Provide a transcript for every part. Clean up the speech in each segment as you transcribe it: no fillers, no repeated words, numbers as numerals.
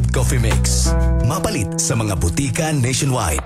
Gold Coffee Mix. Mapalit sa mga butika nationwide.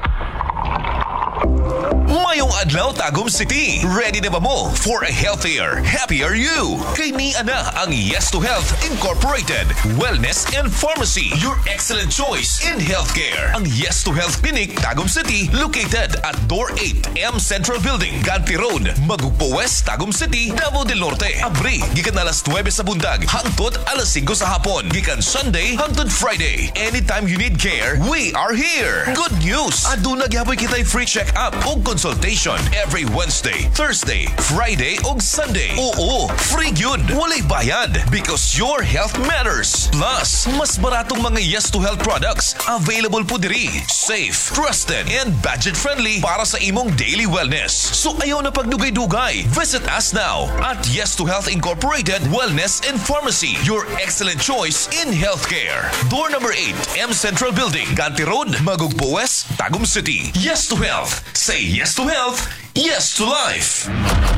Mayong adlaw, Tagum City. Ready na ba mo for a healthier, happier you? Kay ni ana ang Yes to Health Incorporated Wellness and Pharmacy, your excellent choice in healthcare. Ang Yes to Health Clinic Tagum City, located at Door 8, M Central Building, Ganti Road, Magugpo West, Tagum City, Davao del Norte. Abri gikan alas 9 sa buntag hangtod alas 5 sa hapon. Gikan Sunday hangtod Friday. Anytime you need care, we are here. Good news! Aduna gyapoy kitay free check-up ug consultation every Wednesday, Thursday, Friday ug Sunday. Oo, free gyud. Walay bayad because your health matters. Plus, mas baratong mga Yes to Health products available po diri. Safe, trusted, and budget-friendly para sa imong daily wellness. So ayaw na pagdugay-dugay. Visit us now at Yes to Health Incorporated Wellness and Pharmacy, your excellent choice in healthcare. Door number 8, M Central Building, Ganti Road, Magugpo West, Tagum City. Yes to Health. Say yes to health, yes to life.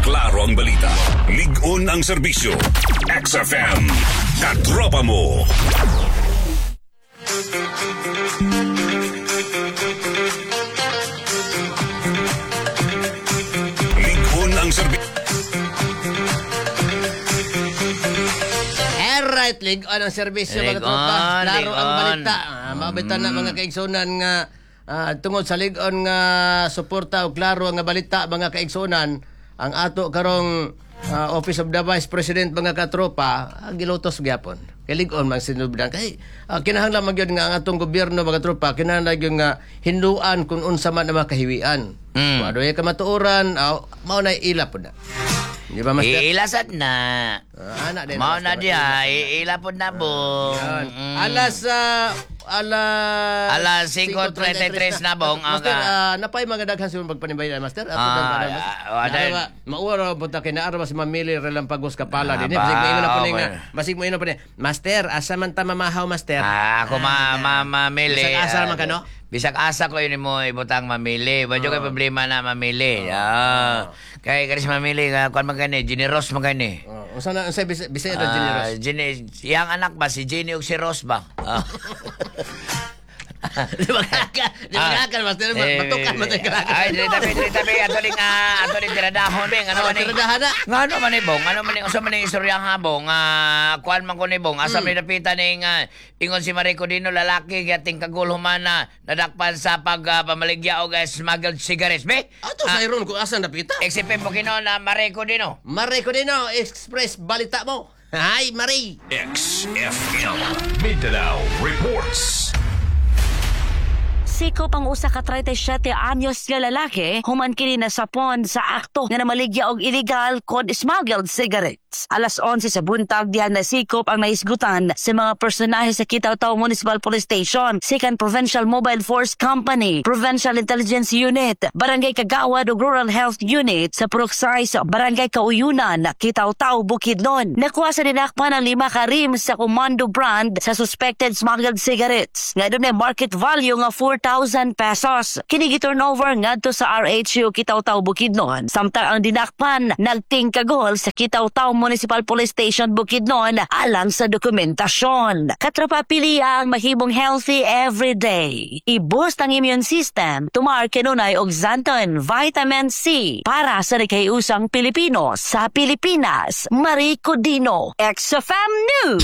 Klaro ang balita. Lig-on ang serbisyo. XFM. Katropa mo. Lig-on ang serbisyo. Alright, lig-on ang serbisyo, mga Lig-on, tropa. Klaro ang lig-on. Balita. Mabita na, mga kaigsunan, nga tungod sa lig-on nga suporta o klaro nga balita, mga kaigsunan, ang ato karong Office of the Vice President, mga katropa, gilutos gyapon. Kay lig-on man sinubdan. Kay kinahanglan man gyud nga ang atong gobyerno, mga tropa, kinahanglan gyud nga hinduan kung unsa man ang mga kahiwian. Kung adunay kamatuoran, mao na ila pud na. Di ba, Master? Iilasad na. Ana din. Mao na Master. diha, iila pod na, bong. Yan. Alas Alas 5:33 na, bong. Master, Aga. napay mga daghan sa pagpanibay, Master. Ato lang, Master. Mauwa ra punta kay naara ba si Mamili Relampagos Kapala din. Ah, Basig mo na po okay. nga. Basig mo na po ni. Master, asa man ta mamahaw, Master? Ah, ako ma mamili. Bisag asa man ka, no? Bisag asa ko yun mo ibutang mamili. Wadyo kay problema na mamili. Ah. Kay kani si mamili nga kuan man kani, generous man kani. Oh, unsa na unsa bisa bisa ito generous? Ah, Jenny, iyang anak ba si Jenny ug si Rose ba? Ah. Di ba ka? Di ba ka, Master? Batukan man tayo ka. Ay, dili tabi, dili tabi. Ato ning tiradahon, bing. Ano man ni? Tiradahan na. Nga ano man ni, bong? Ano man ni unsa man ni istorya nga, bong? Kuan man ko ni, bong. Asa man dapitan ning ingon si Marico Dino, lalaki gating kagul humana nadakpan sa pag pamaligya og smuggled cigarettes, be? Ato sa iron kung asa napita. XFM po kino na Marico Dino. Marie Codino, Express Balita mo. Hi, Marie. XFM. Mindanao Reports. Sikop ang usa ka 37 anyos nga lalaki human kini nasapon sa akto nga namaligya og illegal kon smuggled cigarettes. Alas 11 sa buntag diha nasikop ang nahisgutan sa mga personahe sa Kitaw-Taw Municipal Police Station, Second Provincial Mobile Force Company, Provincial Intelligence Unit, Barangay Kagawad ug Rural Health Unit sa Purok 6, Barangay Kauyunan, Kitaw-Taw, Bukidnon. Nakuha sa dinakpan ang 5 ka rims sa Commando brand sa suspected smuggled cigarettes nga dunay market value nga 4,000 pesos. Kini gi-turnover ngadto sa RHU Kitaw-Taw Bukidnon. Samtang ang dinakpan nagtingkagol sa Kitaw-Taw Municipal Police Station Bukidnon alang sa dokumentasyon. Katropa, pili ang mahimong healthy every day. I-boost ang immune system. Tumar kanunay og Xanthone Vitamin C para sa nagkaiusang Pilipino sa Pilipinas. Marie Codino, XFM News.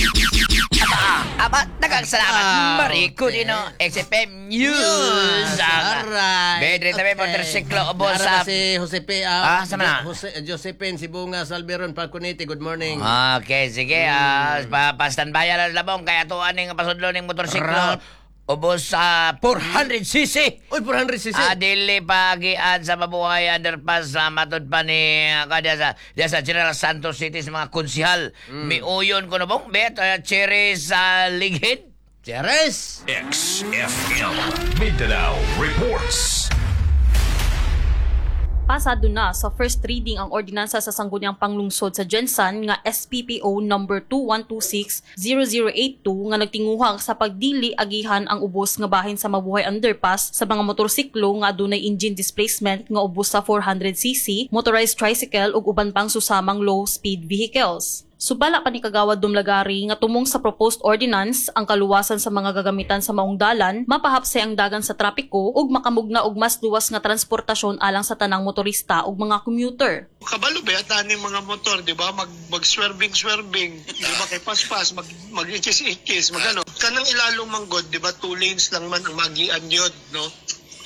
Aba, daghang salamat. Marico Dino, XFM News. Alright. Bedre tabi motorsiklo ubos Naara sa ba si Josepe, Sama na? Jose, Josephine Sibunga Salveron Falconetti, good morning. Okay, sige. Pa standby na labong kaya tuan ning pasudlo ning motorsiklo. Rap. Ubos sa 400cc. Uy, 400cc. Dili pagian sa Mabuhay Underpass sa matud pa ni kada sa diya sa General Santos City sa mga konsihal. Miuyon ko na bong bet cherry sa Ligid. Cheres! XFM. Mindanao Reports. Pasado na sa first reading ang ordinansa sa Sangguniang Panglungsod sa GenSan nga SPPO number 2126-0082 nga nagtinguha sa pagdili agihan ang ubos nga bahin sa Mabuhay Underpass sa mga motorsiklo nga adunay engine displacement nga ubos sa 400cc, motorized tricycle ug uban pang susamang low speed vehicles. Subala pa ni Kagawad Dumlagari nga tumong sa proposed ordinance ang kaluwasan sa mga gagamitan sa maong dalan, mapahapsay ang dagan sa trapiko ug makamugna og mas luwas nga transportasyon alang sa tanang motorista ug mga commuter. Kabalo ba yata ni mga motor, di ba? Mag swerving swerving, di ba, kay paspas, mag ikis-ikis, magano. Kanang ilalong manggod, di ba, two lanes lang man ang magian yun, no?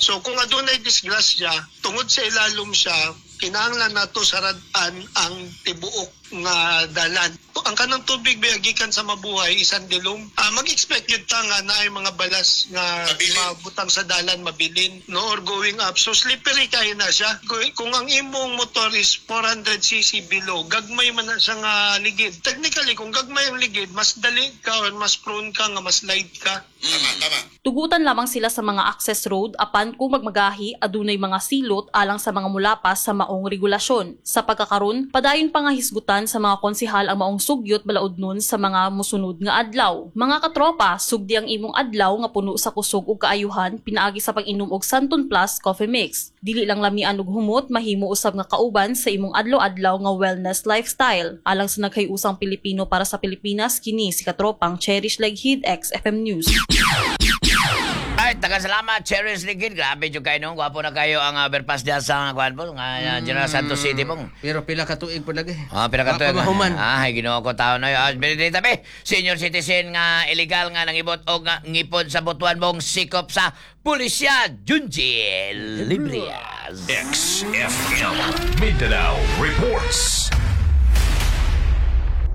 So kung adunay disgrasya, tungod sa ilalom siya, kinahanglan nato saradaan ang tibuok nga dalan. Ang kanang tubig ba gikan sa Mabuhay, Isan Dilom. Mag-expect yun ta nga naay mga balas nga mabutang sa dalan, mabilin, no, or going up. So slippery kayo na siya. Kung ang imong motor is 400 cc below, gagmay man na siya nga ligid. Technically, kung gagmay ang ligid, mas dali ka or mas prone ka nga mas slide ka. Tama, tama. Tugutan lamang sila sa mga access road apan kung magmagahi adunay mga silot alang sa mga mulapas sa maong regulasyon. Sa pagkakaron, padayon pa nga hisgutan sa mga konsehal ang maong sugyot balaodnon sa mga musunod nga adlaw. Mga katropa, sugdi ang imong adlaw nga puno sa kusog ug kaayuhan pinaagi sa pag-inom og Santon Plus Coffee Mix. Dili lang lamian ug humot, mahimo usab nga kauban sa imong adlaw-adlaw nga wellness lifestyle. Alang sa nagkayusang Pilipino para sa Pilipinas, kini si katropang Cherish Leghid, XFM News. Ay, taga salamat, Cherish Ligid. Grabe jud kayo nung. Gwapo na kayo ang overpass diyan sa kuan po, nga General Santos City po. Pero pila ka tuig po lagi. Ah, pila ka tuig. Wa pa mahuman. Ah, ay, Ginoo ko taon na yun. Ah, dito tabi. Senior citizen nga illegal nga nangibot og nga ngipon sa Butuan, bong, sikop sa pulisya. Junji Librias. XFM Mindanao reports.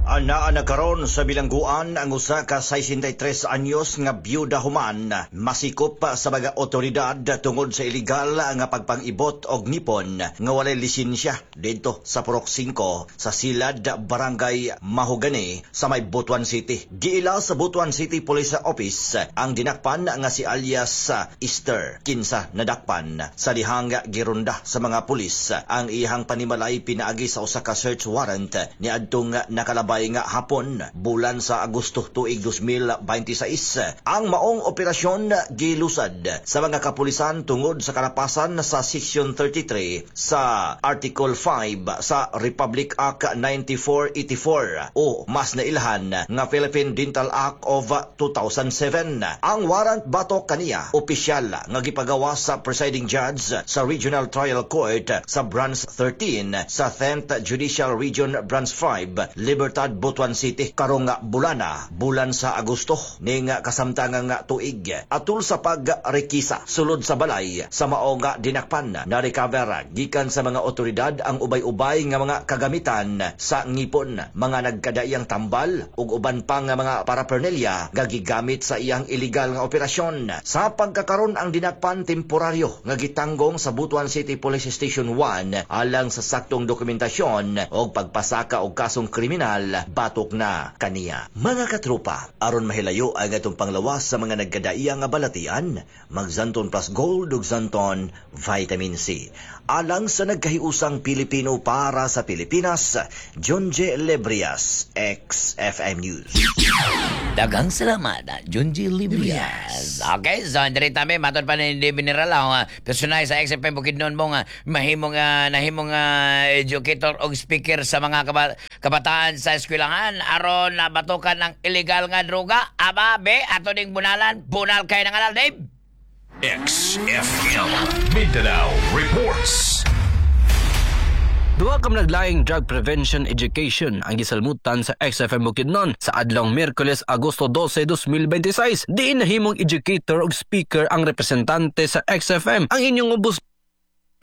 Anaa na karon sa bilangguan ang usa ka 63 anyos nga byuda human masikop sa mga otoridad tungod sa illegal nga pagpangibot og ngipon nga walay lisensya didto sa Purok 5 sa Silad, Barangay Mahogany sa may Butuan City. Giila sa Butuan City Police Office ang dinakpan nga si alias Easter, kinsa nadakpan sa dihang girunda sa mga pulis ang iyang panimalay pinaagi sa usa ka search warrant niadtong nakalabay nga hapon, bulan sa Agosto tuig 2026. Ang maong operasyon gilusad sa mga kapulisan tungod sa kalapasan sa Section 33 sa Article 5 sa Republic Act 9484 o mas nailhan nga Philippine Dental Act of 2007. Ang warrant batok kaniya opisyal nga gipagawa sa presiding judge sa Regional Trial Court sa Branch 13 sa 10th Judicial Region Branch 5, Libertad, Butuan City karong bulana, bulan sa Agosto ning kasamtangang tuig. Atul sa pagrekisa sulod sa balay sa mao nga dinakpan, na recover gikan sa mga otoridad ang ubay-ubay nga mga kagamitan sa ngipon, mga nagkadaiyang tambal ug uban pa nga mga paraphernalia nga gigamit sa iyang illegal nga operasyon. Sa pagkakaron, ang dinakpan temporaryo nga gitanggong sa Butuan City Police Station 1 alang sa saktong dokumentasyon og pagpasaka og kasong kriminal batok na kaniya. Mga katropa, aron mahilayo ang atong panglawas sa mga nagkadaiya nga balatian, mag-Xanthone Plus Gold ug Xanthone Vitamin C. Alang sa nagkahiusang Pilipino para sa Pilipinas, John J. Lebrias, XFM News. Daghang salamat, Junji Librias. Okay, so diri tabi matod pa ni Mineral ang personahe sa XFM Bukidnon mo nga mahimong nahimong educator og speaker sa mga kabataan sa eskwelahan aron nabatukan ng illegal nga droga. Aba, be, ato ning bunalan, bunal kay ng alal, Dave. XFM Mindanao reports. Duha ka naglaing drug prevention education ang gisalmutan sa XFM Bukidnon sa adlawng Miyerkules, Agosto 12, 2026. Diin nahimong educator ug speaker ang representante sa XFM, ang inyong ubos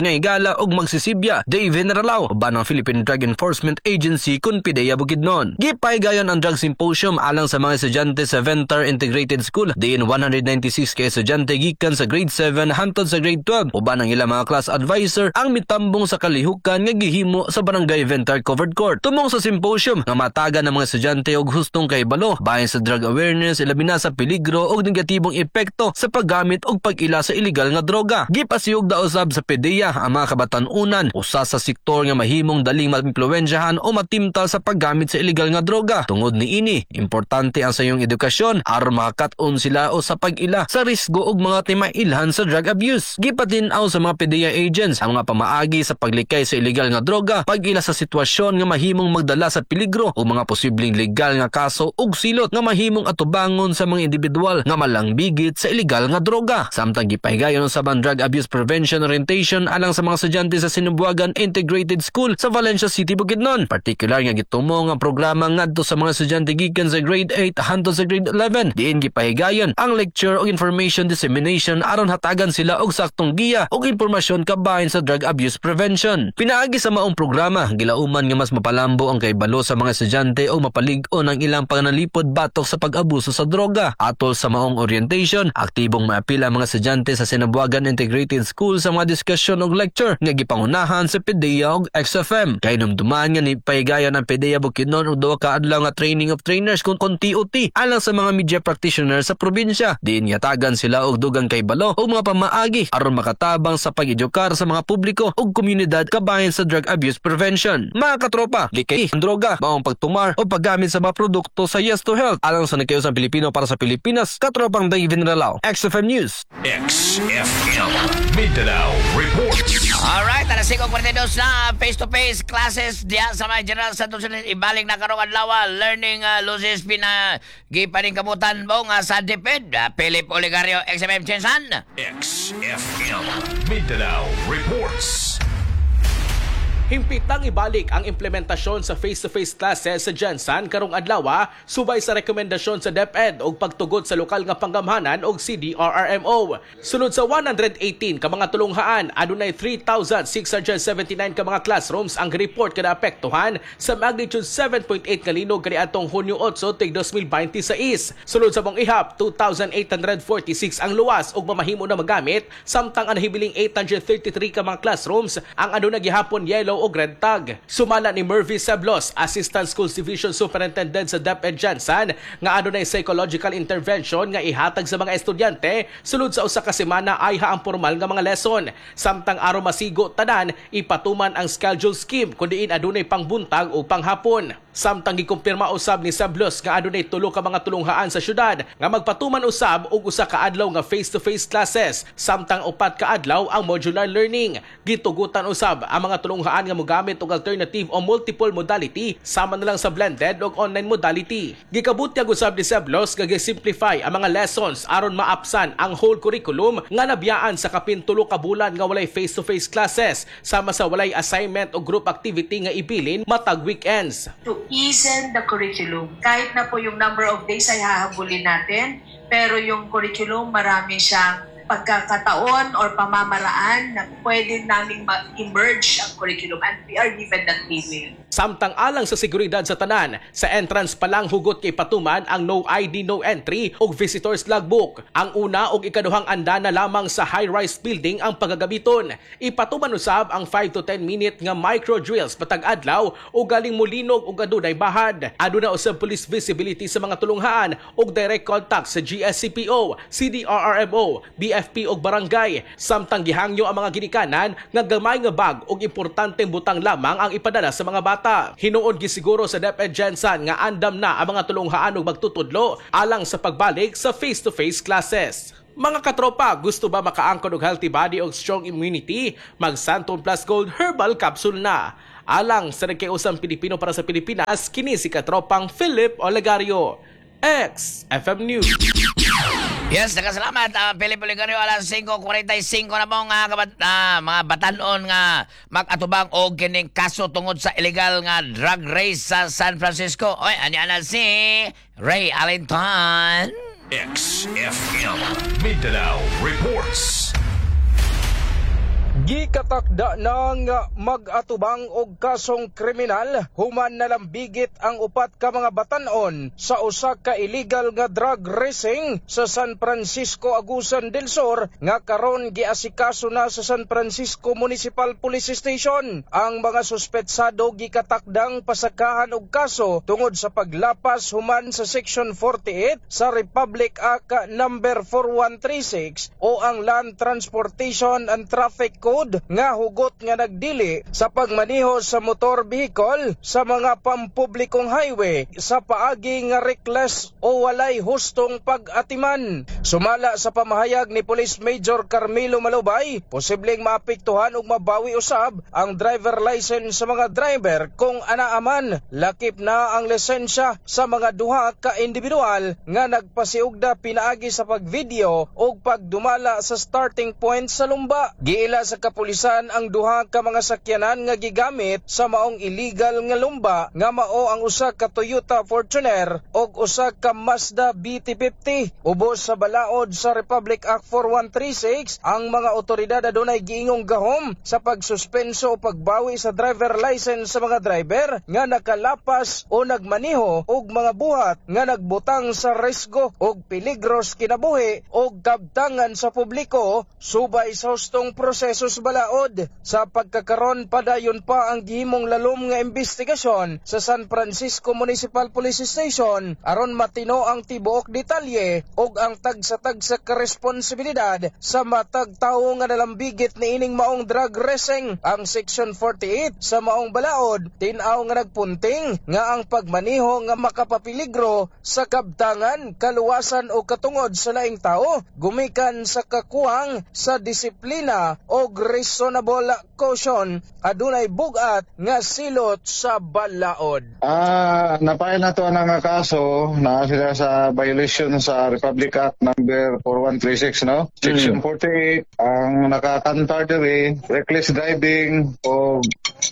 nga higala og magsisibya, Dave Generalao, uban ang Philippine Drug Enforcement Agency kun PDEA Bukidnon. Gipaygayon ang drug symposium alang sa mga estudyante sa Ventar Integrated School, diin 196 ka estudyante gikan sa grade 7 hantod sa grade 12 uban ang ilang mga class advisor ang mitambong sa kalihukan nga gihimo sa Barangay Ventar Covered Court. Tumong sa symposium nga matagan ng mga estudyante og hustong kahibalo bahin sa drug awareness, ilabi na sa peligro og negatibong epekto sa paggamit og pag-ila sa illegal nga droga. Gipasiyog da usab sa PDEA PDEA ang mga kabatan-unan usa sa sektor nga mahimong daling maimpluwensyahan o matimtal sa paggamit sa illegal nga droga. Tungod niini, importante ang sayong edukasyon aron makakat-on sila o sa pag-ila sa risgo og mga timailhan sa drug abuse. Gipatin-aw sa mga PDEA agents ang mga pamaagi sa paglikay sa illegal nga droga, pag-ila sa sitwasyon nga mahimong magdala sa peligro o mga posibleng legal nga kaso ug silot nga mahimong atubangon sa mga individual nga malangbigit sa illegal nga droga. Samtang gipahigayon sa drug abuse prevention orientation alang sa mga estudyante sa Sinumbuagan Integrated School sa Valencia City, Bukidnon. Partikular nga gitumong ang programa ngadto sa mga estudyante gikan sa grade 8 hangtod sa grade 11. Diin gipahigayon ang lecture o information dissemination aron hatagan sila og saktong giya og impormasyon kabahin sa drug abuse prevention. Pinaagi sa maong programa, gilauman nga mas mapalambo ang kaibalo sa mga estudyante o mapalig-on ang ilang panganalipod batok sa pag-abuso sa droga. Atol sa maong orientation, aktibong maapil ang mga estudyante sa Sinabuagan Integrated School sa mga diskusyon og lecture nga gipangunahan sa PDEA og XFM. Kay numduman nga ni pahigayon ang PDEA Bukidnon og duha ka adlaw nga training of trainers kung TOT alang sa mga media practitioner sa probinsya. Diin yatagan sila og dugang kaibalo og mga pamaagi aron makatabang sa pag-edukar sa mga publiko ug komunidad kabahin sa drug abuse prevention. Mga katropa, likay ang droga, maong pagtumar o paggamit sa mga produkto sa Yes to Health. Alang sa nagkayosang Pilipino para sa Pilipinas, katropang David Ralao, XFM News. XFM Mindanao Reports. Alright, alas 5:42 na, face-to-face classes diya sa may General Santos ibalik na karong adlaw, learning losses pina gipaningkamutan mo nga sa DepEd. Philip Oligario, XFM GenSan. XFM Mindanao Reports. Himpitang ibalik ang implementasyon sa face-to-face classes sa GenSan karong adlaw subay sa rekomendasyon sa DepEd og pagtugot sa lokal nga panggamhanan og CDRRMO. Sulod sa 118 ka mga tulunghaan, adunay 3,679 ka mga classrooms ang report kada apektuhan sa magnitude 7.8 nga linog kaniadtong Hunyo 8 tuig 2026. Sulod sa mong ihap, 2,846 ang luwas ug mamahimo na magamit, samtang ang nahibiling 833 ka mga classrooms ang aduna gihapon yellow o red tag. Sumala ni Mervy Seblos, Assistant Schools Division Superintendent sa DepEd GenSan, nga adunay psychological intervention nga ihatag sa mga estudyante sulod sa usa ka semana ay ang formal nga mga lesson. Samtang aron masigo tanan, ipatuman ang schedule scheme kun diin adunay pangbuntag o panghapon. Samtang gikumpirma usab ni Seblos nga adunay tulo ka mga tulunghaan sa syudad nga magpatuman usab og usa ka adlaw nga face-to-face classes, samtang upat ka adlaw ang modular learning. Gitugutan usab ang mga tulunghaan nga mogamit og alternative o multiple modality sama na lang sa blended og online modality. Gikabutyag usab ni Seblos nga gi-simplify ang mga lessons aron maapsan ang whole curriculum nga nabiyaan sa kapin 3 ka bulan nga walay face-to-face classes sama sa walay assignment o group activity nga ibilin matag weekends. To easen the curriculum, kahit na po yung number of days ay hahabulin natin, pero yung curriculum marami siyang pagkakataon or pamamaraan na pwede naming ma-emerge ang curriculum, and we are given that leeway. Samtang alang sa seguridad sa tanan, sa entrance pa lang hugot kay patuman ang no ID no entry ug visitors logbook. Ang una ug ikaduhang andana lamang sa high-rise building ang pagagamiton. Ipatuman usab ang 5 to 10 minute nga micro drills patag adlaw ug galing mulinog ug adunay bahad. Aduna usab police visibility sa mga tulunghaan ug direct contact sa GSCPO, CDRRMO, BFP ug barangay. Samtang gihangyo ang mga ginikanan nga gamay nga bag ug importanteng butang lamang ang ipadala sa mga bata. Hinuon gisiguro sa DepEd GenSan nga andam na ang mga tulunghaan ug magtutudlo alang sa pagbalik sa face-to-face classes. Mga katropa, gusto ba makaangkon og healthy body ug strong immunity? Mag Santon Plus Gold Herbal Capsule na. Alang sa nagkiusang Pilipino para sa Pilipinas, kini si katropang Philip Olegario, XFM News. Yes, nakasalamat Philip Oligario. Alas 5:45 na mong mga batanon nga mag-atubang og kining kaso tungod sa illegal nga drug race sa San Francisco. Oy, anya na si Ray Alinton. XFM Mindanao Reports. Gikatakda ng mag-atubang og kasong kriminal human nalambigit ang upat ka mga batan-on sa usa ka illegal nga drug racing sa San Francisco, Agusan del Sur nga karon giasikaso na sa San Francisco Municipal Police Station. Ang mga suspetsado gikatakdang pasakahan og kaso tungod sa paglapas human sa Section 48 sa Republic Act Number 4136 o ang Land Transportation and Traffic Code balaod nga hugot nga nagdili sa pagmaneho sa motor vehicle sa mga pampublikong highway sa paagi nga reckless o walay hustong pag-atiman. Sumala sa pamahayag ni Police Major Carmelo Malubay, posibleng maapektuhan ug mabawi usab ang driver license sa mga driver kung anaaman lakip na ang lisensya sa mga duha ka individual nga nagpasiugda pinaagi sa pagvideo o pagdumala sa starting point sa lumba. Giila sa kapulisan ang duha ka mga sakyanan nga gigamit sa maong illegal nga lumba nga mao ang usa ka Toyota Fortuner ug usa ka Mazda BT50. Ubos sa balaod sa Republic Act 4136, ang mga otoridad adunay giingong gahom sa pagsuspenso o pagbawi sa driver license sa mga driver nga nakalapas o nagmaneho og mga buhat nga nagbutang sa risgo og peligro sa kinabuhi og kabtangan sa publiko subay sa hustong proseso sa balaod. Sa pagkakaron, padayon pa ang gihimong lalom nga investigasyon sa San Francisco Municipal Police Station aron matino ang tibuok detalye ug ang tagsa-tagsa ka responsibilidad sa matag tawo nga nalambigit niining maong drug racing. Ang Section 48 sa maong balaod tin-aw nga nagpunting nga ang pagmaneho nga makapapiligro sa kabtangan, kaluwasan o katungod sa laing tao gumikan sa kakuwang sa disiplina o reasonable caution adunay bugat nga silot sa balaod. Napail na to ang nga kaso na sila sa violation sa Republic Act number 4136, no? Section 48 ang nakakantar diri, reckless driving, o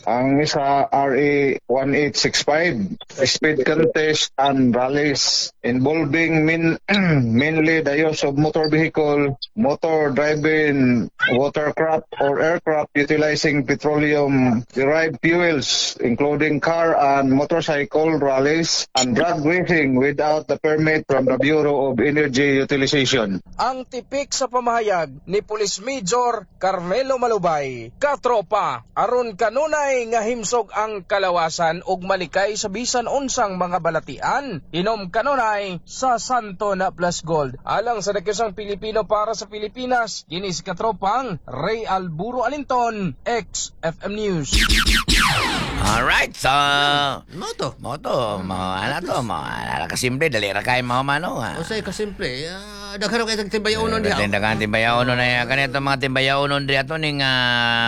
ang isa RA 1865, speed contest and rallies involving mainly the use of motor vehicle, motor driving, watercraft or aircraft utilizing petroleum derived fuels, including car and motorcycle rallies and drag racing without the permit from the Bureau of Energy Utilization. Ang tipik sa pamahayag ni Police Major Carmelo Malubay. Katropa, aron kanunay nga himsog ang kalawasan ug malikay sa bisan unsang mga balatian. Inom kanunay sa Santo na Plus Gold. Alang sa Dakisang Pilipino para sa Pilipinas, kini si katropang Ray Alburo Alinton, XFM News. Alright, so Moto. Moto, mga ano to, mga kasimple, dali ra kay mga mano ha. Usay kasimple. Daghan kay tag timbayaonon diha. Daghan timbayaonon na ya kanito mga timbayaonon diha to ning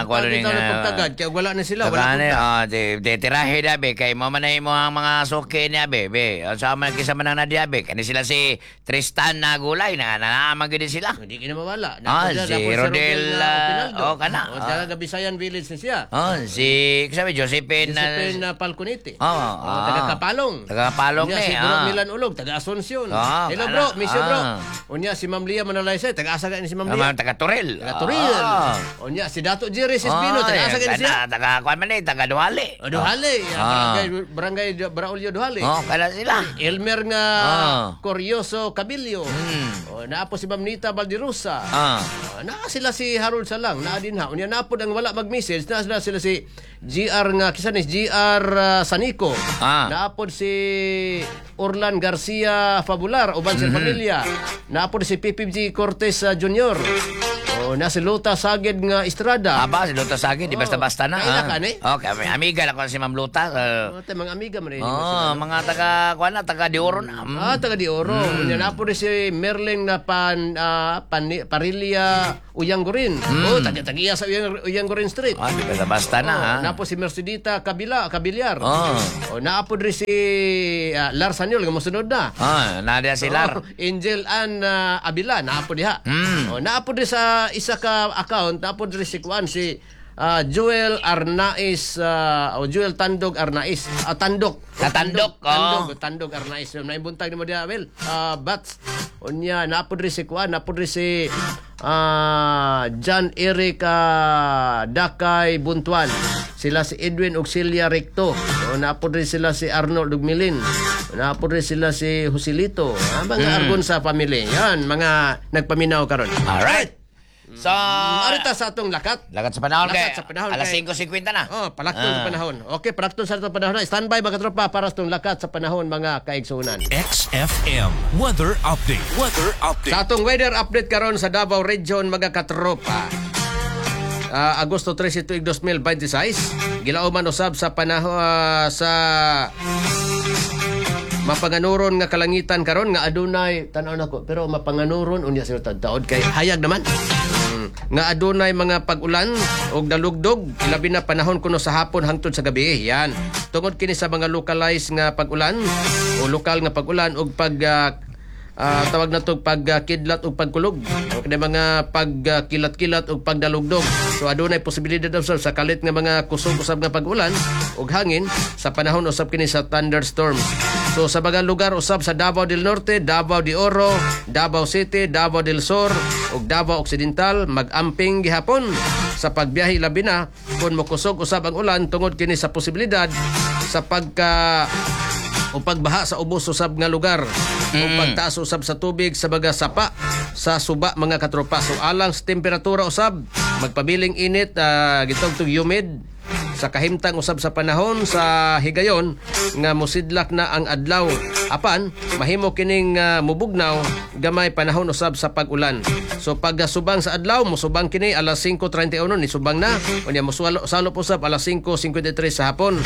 kuno ning pagtagad kay wala na sila, wala na. Ah, di tirahe da be kay mo man mo ang mga suki niya be. Be, sa man kisa man na diha be. Kani sila si Tristan na gulay na naamang gid sila. Hindi kina mawala. Si Rodel oh kana. Oh, taga Bisayan Village ni siya. Oh, si sabi Josephine Josephine Falconetti. Oh, taga Kapalong. Taga Kapalong ni. Si Bro Milan Ulog, taga Asuncion. Hello bro, miss you bro. Unya si Ma'am Lia Manalaysay, taga asa ni si Ma'am Lia? Taga Toril. Taga Toril. Unya si Dato Jerry Sispino, taga asa ni siya? Taga kuan man ni, taga Duhali. Duhali. Barangay Braulio Duhali. Oh, kala sila. Elmer nga Corioso Cabillo. Naa po si Ma'am Nita Valderosa. Naa sila si Harold Salang, naa din ha. Unya naa po ang wala mag-message, naa sila si GR nga kisa ni GR Sanico. Naapod si Orlan Garcia Fabular uban sa pamilya. Naapod si PPG Cortez Jr. Oh, na si Luta Saged nga Estrada. Aba, si Luta Saged, di basta-basta na. Kaila ka ni? Okay, amiga lang ko si Ma'am Luta. Mga amiga man eh. Oh, mga taga kuan na, taga Dioro na. Taga Dioro. Unya naapod si Merlin na Parilia Uyanggorin. Oh, taga-tagiya sa Uyanggorin Street. Ah, di basta-basta na. Naapod si Mercedita Kabilyar. Oh, naapod rin si Lar Sanyol nga mosunod na. Naa si Lar. Angel Ann Abila, naapod diha. Oh, naapod rin sa isa ka account, naapod rin si kuan si Joel Arnaiz o Joel Tandog Arnaiz. Tandok. Tandok. Tandog Arnaiz. Naibuntag nimo diha, well. Bats. Unya naapod rin si kuan, naapod rin si John Eric Dakay Buntuan. Sila si Edwin Auxilia Recto. O, naapod rin sila si Arnold Ugmilin. Naapod rin sila si Joselito. Mga argon sa family. Yan, mga nagpaminaw karon. Alright. So, arita sa atong lakat. Lakat sa panahon. Lakat sa panahon. Alas 5:50 na. Oh, palakton sa panahon. Okay, palakton sa atong panahon. Standby mga tropa para sa atong lakat sa panahon mga kaigsunan. XFM Weather Update. Weather Update. Sa atong weather update karon sa Davao Region mga katropa. Agosto 13 tuig 2026. Gilauman usab sa panahon sa mapanganuron nga kalangitan karon nga adunay, tan-aw nako, pero mapanganuron unya sa taod kay hayag naman. Nga adunay mga pag-ulan og dalugdog, ilabi na panahon kuno sa hapon hangtod sa gabi. Yan. Tungod kini sa mga localized nga pag-ulan o lokal nga pag-ulan og pag tawag na to pagkidlat ug pagkulog o kini mga pagkilat-kilat ug pagdalugdog. So adunay posibilidad usab sa kalit nga mga kusog usab nga pag-ulan ug hangin sa panahon usab kini sa thunderstorm. So sa mga lugar usab sa Davao del Norte, Davao de Oro, Davao City, Davao del Sur ug Davao Occidental, mag-amping gihapon sa pagbiyahe, labi na kung mokusog usab ang ulan, tungod kini sa posibilidad sa pagka o pagbaha sa ubos usab nga lugar o pagtaas usab sa tubig sa mga sapa sa suba, mga katropa. So alang sa temperatura usab, magpabiling init, gitawag humid sa kahimtang usab sa panahon sa higayon nga musidlak na ang adlaw. Apan mahimo kining mubugnaw gamay panahon usab sa pag-ulan. So pag subang sa adlaw, musubang kini alas 5:31 ni subang na, unya musualo salop usab alas 5:53 sa hapon.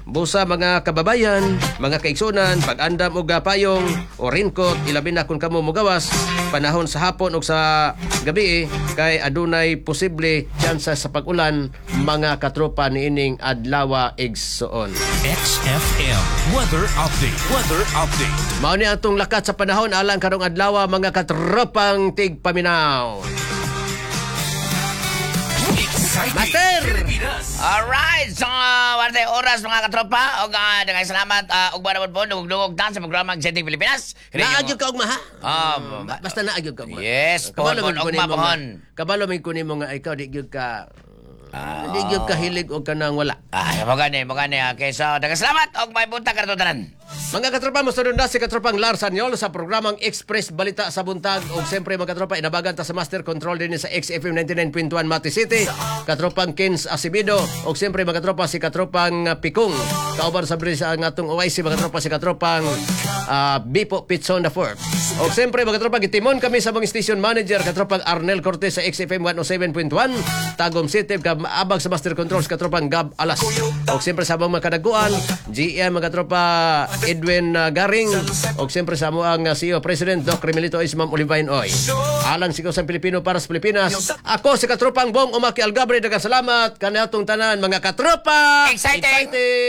Busa mga kababayan, mga kaigsunan, pag-andam og payong o raincoat, ilabi na kung kamo mugawas panahon sa hapon o sa gabi kay adunay posible tsansa sa pag-ulan, mga katropa, niining adlawa, igsoon. XFM Weather Update. Weather Update. Mao ni atong lakat sa panahon alang karong adlaw, mga katropang tigpaminaw. Exciting. Master! Pilipinas. Alright, so wala oras, mga katropa. Og daghang salamat ug naman po dungog-dungog ta sa programa Exciting Pilipinas. Naa gyud ka ugma, ha? Ah, Basta naa gyud ka ugma. Yes, Kabalo pohon, man kunin ugma, mo nga- pohon. Kabalo man kunin mo nga ikaw di gyud ka hilig og kanang wala. Ay, mo gani, mo gani. Okay, so daghang salamat og may buntag kanato tanan. Mga katropa, mosunod na si Katropang Lars Anyol sa programang Express Balita sa Buntag. O siyempre, mga katropa, inabagan ta sa Master Control din sa XFM 99.1 Mati City. Katropang Kens Acevedo. O siyempre, mga katropa, si Katropang Pikong. Kauban sa bris ang atong OIC, mga katropa, si Katropang Bipo Pitson the Fourth. O siyempre, mga katropa, gitimon kami sa mga station manager, Katropang Arnel Cortez sa XFM 107.1, Tagum City, abag sa Master Control, sa Katropang Gab Alas. O siyempre sa among mga kadaguan, GM, mga katropa, Edwin Garing, o siyempre sa among CEO President Doc Remilito Oy, si Ma'am Olivine Oy. Alang sigaw sa Pilipino para sa Pilipinas. Ako si Katropang Bong Umaki Algabre, daghang salamat kanatong tanan, mga katropa. Exciting! Exciting!